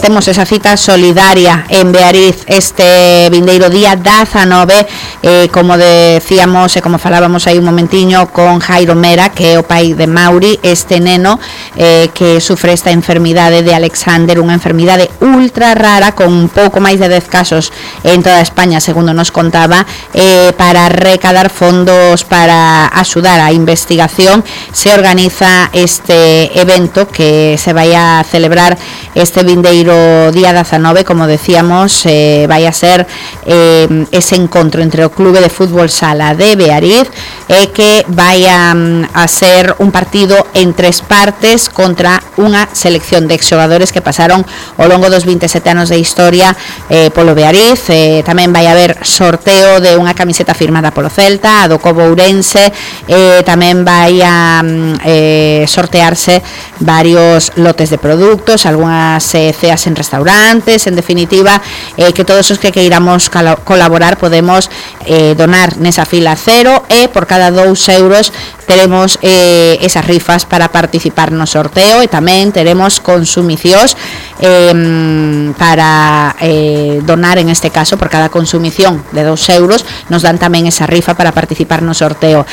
temos esa cita solidaria en Beariz este vindeiro día 19, como decíamos e como falábamos aí un momentiño con Jairo Mera, que é o pai de Mauri, este neno que sufre esta enfermidade de Alexander, unha enfermidade ultra rara con un pouco máis de 10 casos en toda España, segundo nos contaba, para recaudar fondos para axudar a investigación. Se organiza este evento que se vai a celebrar este vindeiro día 19, como decíamos, vai a ser ese encontro entre o Clube de Fútbol Sala de Beariz que vai a ser un partido en 3 partes contra unha selección de exxogadores que pasaron ao longo dos 27 anos de historia polo Beariz. Tamén vai haber sorteo de unha camiseta firmada polo Celta, a do Cobo Ourense, tamén vai a sortearse varios lotes de produtos, algunhas ceas en restaurantes, en definitiva, que todos os que queiramos colaborar podemos donar nesa fila cero, e por cada 2 euros teremos esas rifas para participar no sorteo, e tamén teremos consumicións para donar. En este caso, por cada consumición de 2 euros nos dan tamén esa rifa para participar no sorteo.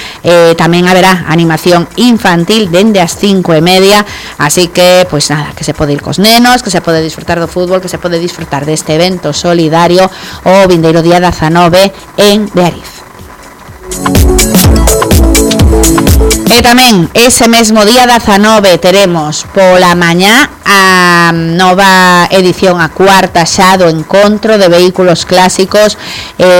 Tamén haberá animación infantil dende as 5:30, así que, pois nada, que se pode ir cos nenos, que se pode disfrutar do fútbol, que se pode disfrutar deste evento solidario o vindeiro día 19 en Beariz. E tamén ese mesmo día 19 teremos pola mañá a nova edición, a cuarta xa do encontro de vehículos clásicos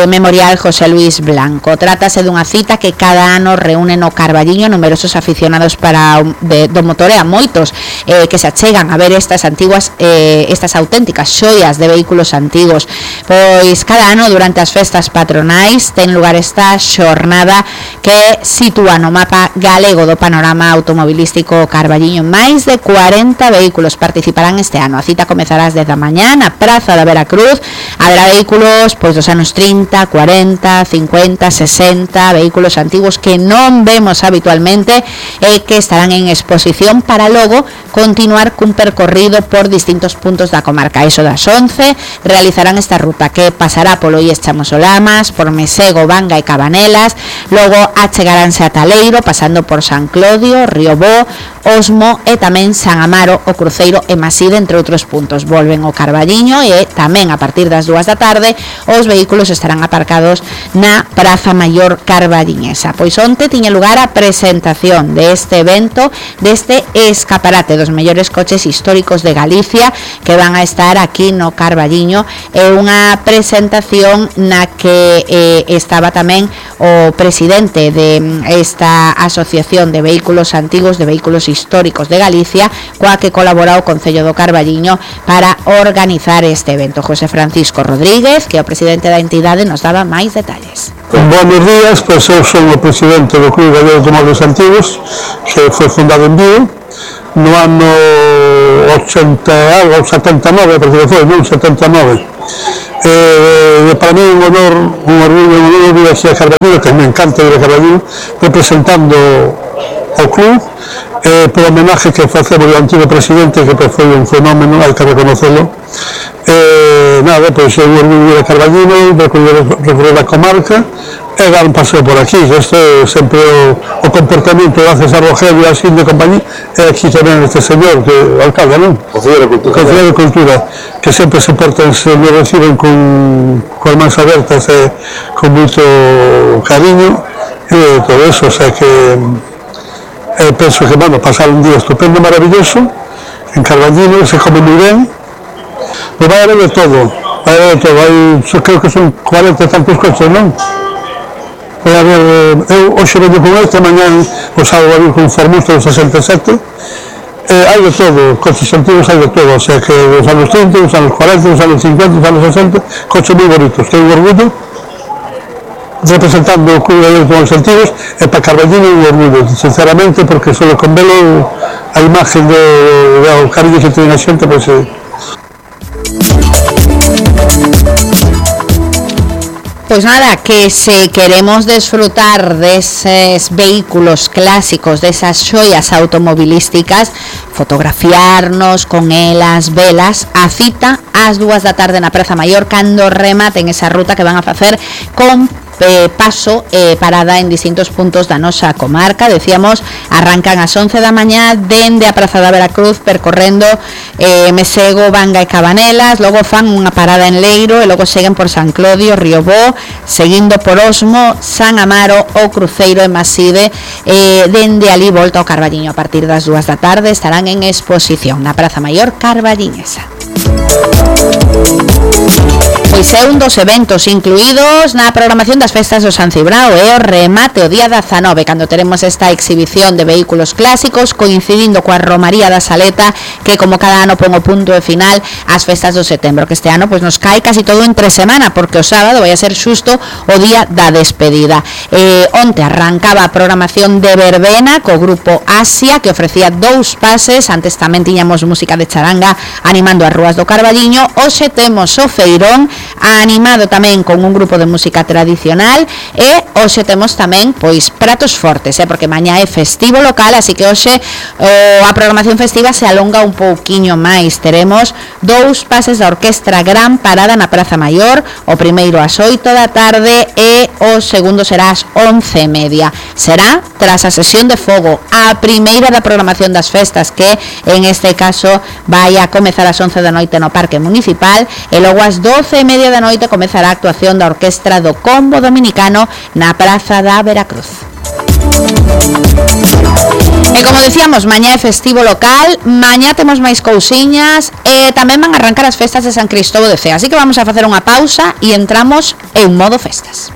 Memorial José Luis Blanco. Trátase dunha cita que cada ano reúne no Carballiño numerosos aficionados do motor, e a moitos que se achegan a ver estas auténticas xoias de vehículos antigos. Pois cada ano durante as festas patronais ten lugar esta xornada que sitúa no mapa galego do panorama automobilístico carballiño. Máis de 40 vehículos participarán este ano. A cita comezará ás 10 da mañá na Praza da Veracruz. Haberá vehículos pois dos anos 30, 40, 50, 60, vehículos antigos que non vemos habitualmente e que estarán en exposición para logo continuar cun percorrido por distintos puntos da comarca. Eso das 11 realizarán esta ruta que pasará polo IES Chamosolamas, por Mesego, Vanga e Cabanelas, logo achegaránse a Taleiro, pasando por San Clodio, Riobó, Osmo e tamén San Amaro, o Cruceiro e Maside, entre outros puntos. Volven ao Carballiño e tamén a partir das 2 da tarde os vehículos estarán aparcados na Praza Maior carballiñesa. Pois onte tiña lugar a presentación deste evento, deste escaparate dos mellores coches históricos de Galicia que van a estar aquí no Carballiño. É unha presentación na que estaba tamén o presidente de esta asociación de vehículos antigos, de vehículos históricos de Galicia, coa que colabora o Concello do Carballiño para organizar este evento. José Francisco Rodríguez, que é o presidente da entidade, nos daba máis detalles. Buenos días, pois eu son o presidente do Clube Gallego de Automóviles Antigos, que foi fundado en Vigo no ano 79, parece que foi, non? 79. Para mí un honor, un orgullo vir aquí a Carballiño, que me encanta ir a Carballiño, representando o club, por homenaje que facemos ao antigo presidente, que foi un fenómeno, hai que reconocelo. Nada, pois é un orgullo ir a Carballiño, recorrer a comarca e dar un paseo por aquí. Isto é sempre o comportamento gracias a Rogelio e a Xin de compañía, e aquí tamén este señor, que o alcalde, non? Concelleiro de Cultura, que sempre se portan, me reciben con as mans abertas e con moito cariño e todo eso, o sea que penso que, bueno, pasar un día estupendo, maravilloso en Carballiño, se come moi ben, pero vai haber de todo, creo que son 40 e tantos coches, non? Vai haber, eu hoxe veño con este, mañán o sábado a vir con Formusto do 67, hai de todo, coches antigos hai de todo, o sea que os anos 30, os anos 40, os anos 50, os anos 60, coches moi bonitos, que é un orgullo representando o Clube de Automóviles Antigos, e para Carballiño un orgullo, sinceramente, porque solo con velo a imagen do cariño que ten a xente, pois pois nada, que se queremos desfrutar deses vehículos clásicos, desas xoias automobilísticas, fotografiarnos con elas, velas, a cita ás 2 da tarde na Praza Maior cando rematen esa ruta que van a facer con paso parada en distintos puntos da nosa comarca. Decíamos, arrancan ás 11 da mañá dende a Praza da Veracruz percorrendo Mesego, Vanga e Cabanelas, logo fan unha parada en Leiro e logo seguen por San Clodio, Riobó, seguindo por Osmo, San Amaro, o Cruceiro e Maside, dende ali volta ao Carballiño. A partir das 2 da tarde estarán en exposición na Praza Maior carballiñesa. Pois é un dos eventos incluídos na programación das festas do San Cibrao e o remate o día 19, cando teremos esta exhibición de vehículos clásicos coincidindo coa Romaría da Saleta, que como cada ano pon o punto de final ás festas do setembro, que este ano pois nos cae casi todo entre semana, porque o sábado vai a ser xusto o día da despedida. Onte arrancaba a programación de verbena co grupo Asia, que ofrecía 2 pases, antes tamén tiñamos música de charanga animando as rúas do Carballiño. Hoxe temos o feirón animado tamén con un grupo de música tradicional e hoxe temos tamén pois pratos fortes, porque mañá é festivo local, así que hoxe a programación festiva se alonga un pouquiño máis. Teremos 2 pases da Orquestra Gran Parada na Praza Maior, o primeiro ás 8 da tarde e o segundo será ás 11:30. Será tras a sesión de fogo, a primeira da programación das festas, que en este caso vai a comezar ás 11 da noite no Parque Municipal e logo ás 12:30 da noite comezará a actuación da Orquestra do Combo Dominicano na Praza da Veracruz. E como decíamos, mañá é festivo local, mañá temos máis cousiñas e tamén van a arrancar as festas de San Cristóbal de Cea, así que vamos a facer unha pausa e entramos en modo festas.